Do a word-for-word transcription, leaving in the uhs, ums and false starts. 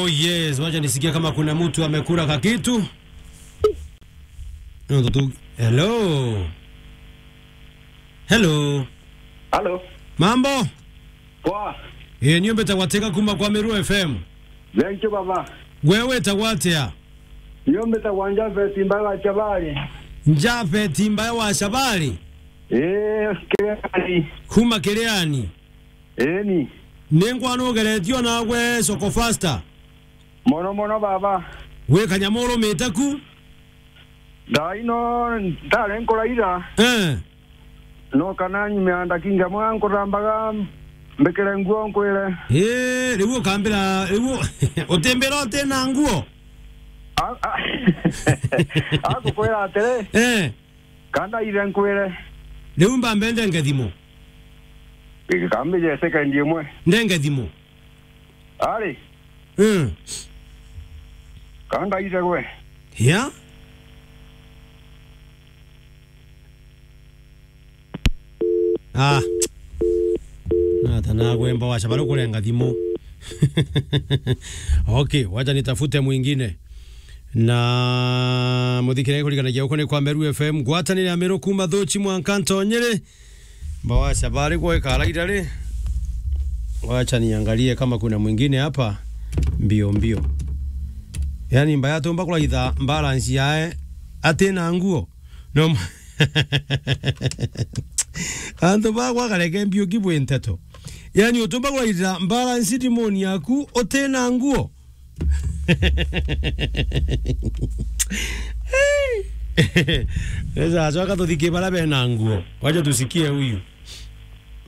Oh yes, wacha nisikie kama kuna mtu amekula kakitu. Ndio tu. Hello. Hello. Halo. Mambo? Poa. Eh, niombe tagwatega kuma kwa Meru F M. Thank you, baba. Wewe tagwatea? Niombe tagwanja Feti Mbae wa Chabari. Nja Feti Mbae wa Chabari? Eh, Kiriani. Kuma Kiriani? Eni. Ningwa nugeretio nagwe Soko Fasta? Mono mono, baba. Wi kanyamu urumite ku? Thaa ino ntare nkuraira. Eh. No kana nyume ya ndakinga mwa nkurambaga mbikire nguo nkwire. Eh, riu ukambira, riu utimbira uti na nguo? A-, a-, agukwira atiri? Eh. Kanda ire nkwire. Riu mbambe ndenge thimu. Ikambije second imwe. Ndenge thimu. Ari. Mm. Kanda ire gwe. Ya? Ah. Nata nagwe Mbawacha bari kurenga thimu. Okay, wacha nitafute mwingine. Na muthikire kuriganagia uko ni kwa Meru F M, ngwatanire ya Meru kuma Thuchi mwanka Ntonyere. Mbawacha bari gwe karaira ri. Wacha niangalie kama kuna mwingine hapa mbio mbio. Yani mbaya tumba kuraitha balance yae ati na nguo. No. Antu bagwa kareke mbio kibwe nteto. Yani utumba kuraitha balance dimoni yaku uti na nguo. Sasa, acoka tuthike bara bena nguo. Wacha tusikie huyu.